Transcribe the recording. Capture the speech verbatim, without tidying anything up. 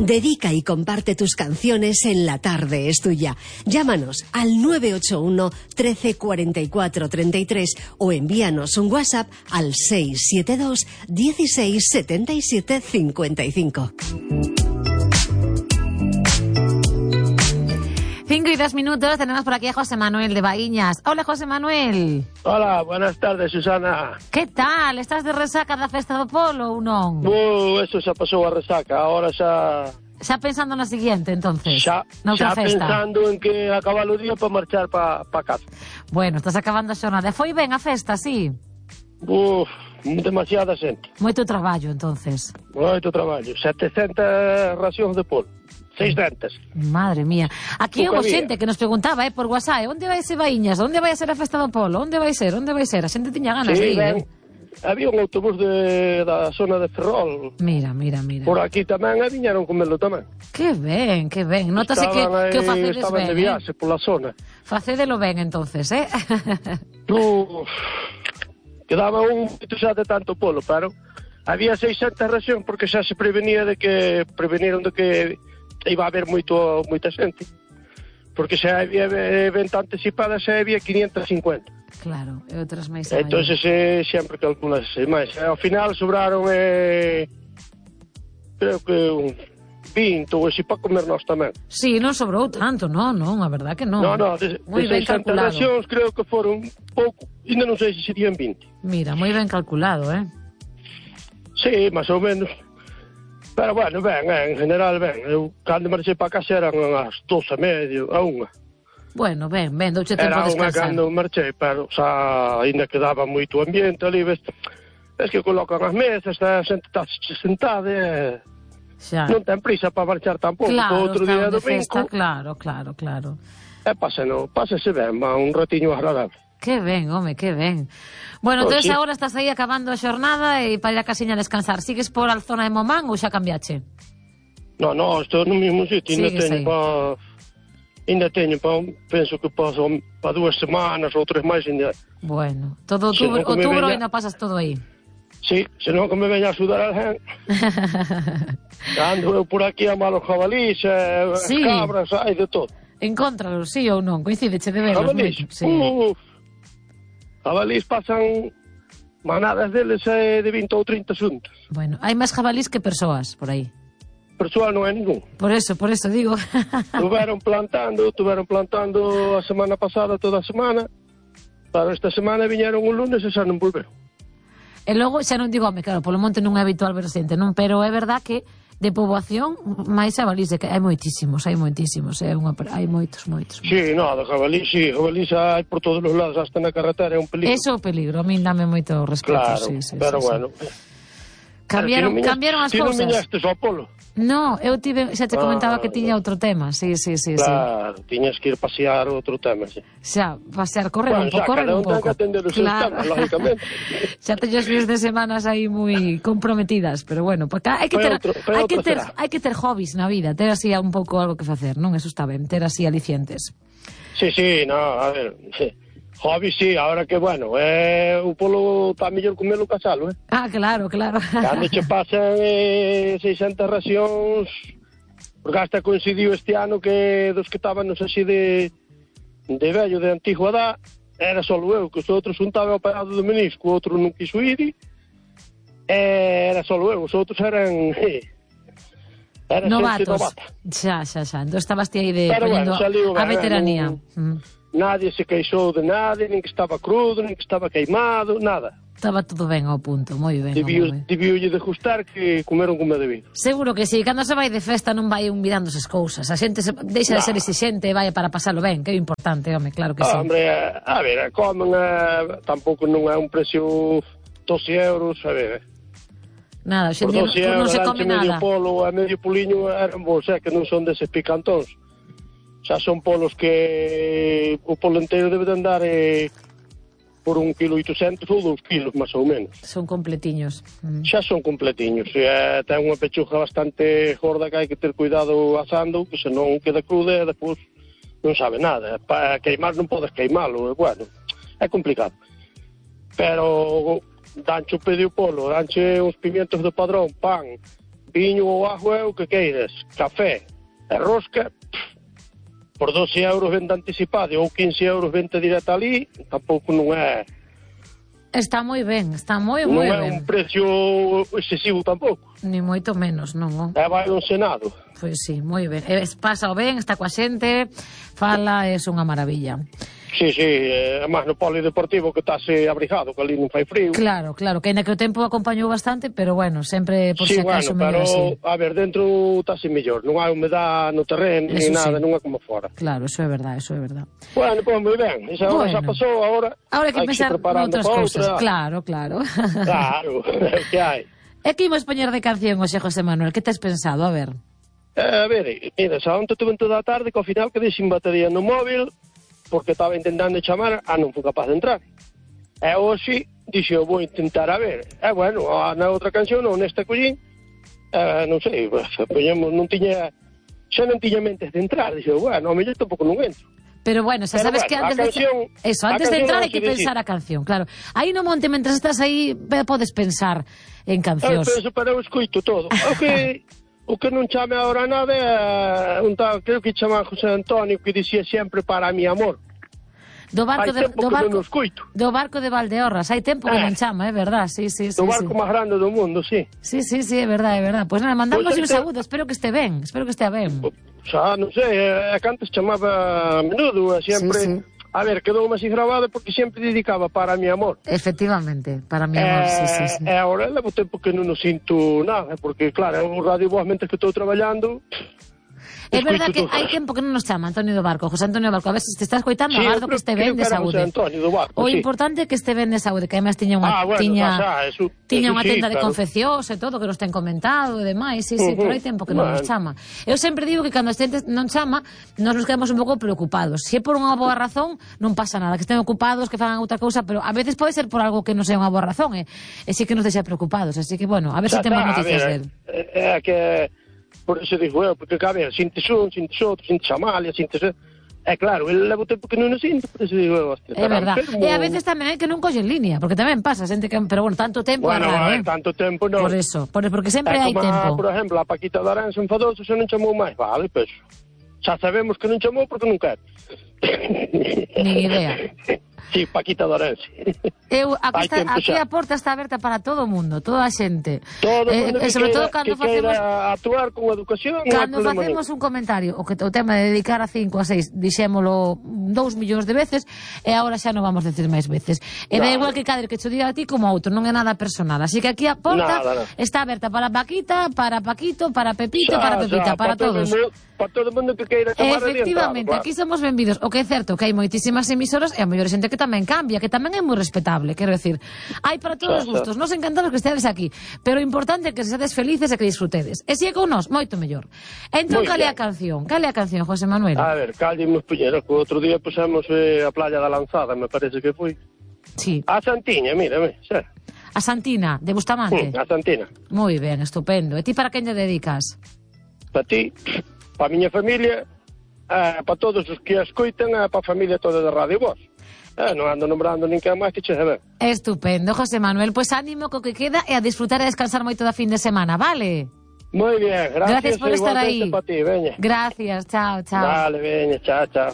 Dedica y comparte tus canciones en La Tarde es Tuya. Llámanos al nueve ocho uno, trece, cuarenta y cuatro, treinta y tres o envíanos un WhatsApp al seis siete dos, dieciséis, setenta y siete, cincuenta y cinco. Cinco y dos minutos, tenemos por aquí a José Manuel de Baíñas. Hola, José Manuel. Hola, buenas tardes, Susana. Que tal? Estás de resaca da festa do polo ou non? Uh, eso xa pasou a resaca, ahora xa... Xa pensando na seguinte, entonces? Xa, xa pensando en que acabar o día para marchar para pa casa. Bueno, estás acabando a xornada. Foi ben a festa, sí? Uf, demasiada xente. Moito traballo, entonces. Moito traballo, setecentas racións de polo. seiscentas. Madre mía. Aquí houve xente que nos preguntaba, eh, por WhatsApp, onde vai ser Baíñas? Onde vai ser a festa do polo? Onde vai ser? Onde vai ser? A xente tiña ganas sí, de ir, ben, eh? Había un autobús de, da zona de Ferrol. Mira, mira, mira. Por aquí tamén, e viñeron comelo tamén. Que ben, que ben. Notase que, aí, que o facedes estaban ben, de viaxe, eh? pola zona. Facédelo ben, entonces, eh? Uf, quedaba un poquito xa de tanto polo, pero había seiscentas racións porque xa se prevenía de que, preveniron de que iba a haber moito, moita xente, porque xa había venta anticipada, xa había quinientas e cincuenta. Claro, e outras máis. Entón, eh, sempre calculas máis. Ao final sobraron, eh, creo que un vinte ou así para comer nós tamén. Sí, non sobrou tanto, non, non, a verdad que non. Non, non, de, de seiscentas racións creo que foron pouco, ainda non sei se serían vinte. Mira, moi ben calculado, eh? Sí, máis ou menos. Pero bueno, ben, en general ben. Eu cando marchei para casa eran as doce e medio, a unha. Bueno, ben, ben, douche tempo a descansar. Era unha cando marchei, pero xa ainda quedaba moito ambiente ali, ves, ves que colocan as mesas, a xente está sentada e xa. Non ten prisa para marchar tampouco. Claro, outro día de domingo, festa, claro, claro, claro. E páseno, pásese ben, va un ratiño agradable. Que ben, home, que ben. Bueno, Pues entonces sí. agora estás aí acabando a xornada e para ir a casiña a descansar. Sigues por a zona de Momán ou xa cambiache? No, no, estou no mesmo sitio, ainda teño para... Ainda teño para... Penso que paso para dúas semanas ou tres máis ainda. Bueno, todo outubro, outubro ainda pasas todo aí. Sí, senón que me veña a sudar alguén. Ando eu por aquí a malos jabalís, eh, Sí. cabras, hai de todo. Encóntralos, sí ou non? Coincideche de verlos? Jabalís, Sí. uf. Jabalís pasan manadas deles eh, de vinte ou trinta xuntos. Bueno, hai máis jabalís que persoas por aí. Persoal non é ningún. Por eso, por eso digo. Tuveron plantando, tuveron plantando a semana pasada toda a semana. Para esta semana viñeron un lunes e xa non volveron. E logo, xa non digo, home, claro, polo monte non é habitual ver xente, non? Pero é verdad que de poboación máis jabalís, que hai moitísimos, hai moitísimos, é unha, hai moitos, moitos. Sí, no, de jabalí, sí, jabalí xa hai por todos os lados, hasta na carretera, é un peligro. Eso é o peligro, a min dame moito respeto, claro, sí, sí, pero sí, bueno. Sí. Cambiaron, Ti non cambiaron as ti cousas. Ti non viñastes ao polo? No, eu tive, xa te comentaba Ah, que tiña outro tema, sí, sí, sí, claro, sí. Tiñas que ir pasear outro tema, sí. Xa, pasear, correr bueno, un pouco, correr un pouco. Bueno, xa, cada un ten que atender os seus temas, lógicamente. Xa teño os fines de semanas aí moi comprometidas, pero bueno, porque hai que ter, outro, hai que ter, será. hai que ter hobbies na vida, ter así un pouco algo que facer, non? Eso está ben, ter así alicientes. Sí, sí, no, a ver, sí. Hobby, sí, ahora que, bueno, eh, o polo está mellor comelo que asalo, eh? Ah, claro, claro. Cando che pasan eh, seiscentas racións, porque hasta coincidiu este ano que dos que estábamos así de de vello, de antigua edad, era só eu, que os outros un estaba operado de menisco, o outro non quiso ir, e era só eu, os outros eran... Eh, era novatos. Xa, xa, xa. Entón estabas ti aí de pero poñendo bueno, a veteranía. Non, mm. Nadie se queixou de nada, nin que estaba crudo, nin que estaba queimado, nada. Estaba todo ben ao punto, moi ben. Debioulle de gustar que comeron como debido. Seguro que si, sí. Cando se vai de festa non vai un mirando esas cousas. A xente se, deixa no. de ser exixente e vai para pasalo ben, que é importante, home, claro que ah, sí. Hombre, a ver, comen, a, tampouco non é un precio doce euros, a ver. Nada, xente non, non se come nada. Medio polo a medio poliño eran bons, é que non son deses picantóns. Xa son polos que o polo inteiro debe de andar eh, por un kilo oitocentos ou dous kilos, máis ou menos. Son completiños. Mm. Xa son completiños. E, ten unha pechuga bastante gorda que hai que ter cuidado asando, que senón queda cruda e depois non sabe nada. Para queimar non podes queimalo, e, bueno, é complicado. Pero danche o pedio polo, danche uns pimientos de padrón, pan, viño ou agua, o que queiras, café e rosca, por doce euros vende anticipado ou quince euros vende directa ali, tampouco non é... Está moi ben, está moi, non moi é ben. un precio excesivo tampouco. Ni moito menos, non. É vai un senado. Pois sí, moi ben. E pasa o ben, está coa xente, fala, é unha maravilla. Sí, sí, é máis no polideportivo que estáse abrigado, que ali non fai frío. Claro, claro, que ainda que o tempo acompañou bastante, pero bueno, sempre por sí, si acaso bueno, mellor así. pero, a ver, dentro estáse mellor, non hai humedad no terreno, Eso ni nada, sí. non é como fora. Claro, eso é verdad, eso é verdad. Bueno, pois pues, moi ben, esa hora Bueno. xa pasou, agora Ahora hai que hai pensar se preparando noutras para cousas. outra. Claro, claro. Claro, que hai. E que imos poñer de canción, hoxe, José Manuel? Que tes pensado? A ver. Eh, a ver, mira, xa onte tuve toda a tarde que ao final quedei sin batería no móvil porque estaba intentando chamar, ah, non fui capaz de entrar. E hoxe dixo, vou intentar a ver. E bueno, na outra canción, non nesta collín, eh, non sei, poñemos, non tiña, xa non tiña mentes de entrar. Dixo, bueno, ao mellor tampouco non entro. Pero bueno, xa Pero sabes bueno, que antes a canción, de eso, antes de entrar hai que decir. pensar a canción, claro. Aí no monte, mentras estás aí, podes pensar en Eu cancións. penso, pero eu escoito todo. O que, o que non chame agora nada é un tal, creo que chama José Antonio, que dicía sempre para mi amor. Do barco Hai de, tempo do que barco, non o escoito. do barco de Valdeorras, hai tempo que Eh. non chama, é verdad, sí, sí, sí. Do sí. barco máis grande do mundo, sí. Sí, sí, sí, é verdad, é verdad. Pois pues nada, mandamos Pois un este- saúdo, espero que este ben, espero que estea ben. Xa, non sei, é que antes chamaba a menudo, e sempre... Sí, sí. A ver, quedou así grabado porque sempre dedicaba para mi amor. Efectivamente, para mi amor, sí, sí, sí. E agora levo tempo que non o sinto nada, porque claro, é un radio voz mentre que estou traballando. É verdad que escoito todo. hai tempo que non nos chama Antonio do Barco, José Antonio do Barco. A ver se te estás coitando, Sí, agardo eu que este creo ben de que era saúde. José Antonio do Barco, O sí. importante é que este ben de saúde, que además tiña unha Ah, bueno, tiña pasa, eso- tiña eso unha sí, tenda de claro. confeccións e todo que nos ten comentado e demais, sí, sí, Ujú. pero hai tempo que non nos Bueno. chama. Eu sempre digo que cando a xente non chama, nos nos quedamos un pouco preocupados. Se é por unha boa razón, non pasa nada, que estén ocupados, que fagan outra cousa, pero a veces pode ser por algo que non sea unha boa razón, e, e sí que nos deixa preocupados, así que bueno, a ver se Xa temos está, a noticias ver, del. É, é que por eso digo eu, porque a ver, sintes un, sintes outro, sintes Amalia, sintes... É claro, ele leva o tempo que non o sinto, por eso digo eu, hostia, É estará verdad. enfermo. E a veces tamén hai que non colle en línea, porque tamén pasa, xente que, pero bueno, tanto tempo Bueno, é raro, hai eh? tanto tempo non. Por eso, por, porque sempre É hai como, tempo. por exemplo, a Paquita de Aranza enfadoso xa non chamou máis, vale, pois xa sabemos que non chamou porque non quer. Ni idea. Sí, Paquita de Aranza. Eu, aquí, Hai está, tempo aquí xa. a porta está aberta para todo o mundo, toda a xente. Todo Eh, mundo e que sobre todo queira, cando que facemos queira actuar con educación, non hai cando problema facemos nenhum. un comentario, o que o tema de dedicar a cinco a seis, dixémolo dous millóns de veces, e agora xa non vamos decir máis veces. E da Nada. igual que cadre que cho diga a ti como a outro, non é nada personal. Así que aquí a porta Nada, nada. está aberta para Paquita, para Paquito, para Pepito, Xa, para Pepita, xa, para todo todos. mundo- para todo o mundo que queira chamar Efectivamente, adiantado, aquí somos benvidos. O que é certo que hai moitísimas emisoras e a mellor xente que tamén cambia, que tamén é moi respetable, quero decir. Hai para todos os Xa, xa. gustos. Nos encantamos que estedes aquí, pero o importante é que sedes felices e que disfrutedes. E se é con nós, moito mellor. Entón, Moi cale a ben. canción? Cale a canción, José Manuel? A ver, calle nos puñera, que o outro día pusemos eh, a playa da Lanzada, me parece que foi. Sí. A Santiña, mira, mira, xa. A Santina, de Bustamante. Mm, a Santina. Moi ben, estupendo. E ti para quen lle dedicas? Para ti, para a miña familia, eh, para todos os que a escoitan, e para a familia toda da Radio Voz. Eh, non ando nombrando ninguén máis que che saber. Estupendo, José Manuel. Pois ánimo co que queda e a disfrutar e descansar moito da fin de semana, vale? Moi bien, gracias, Gracias por estar igualmente aí. para ti, veña. Gracias, chao, chao. Vale, veña, chao, chao.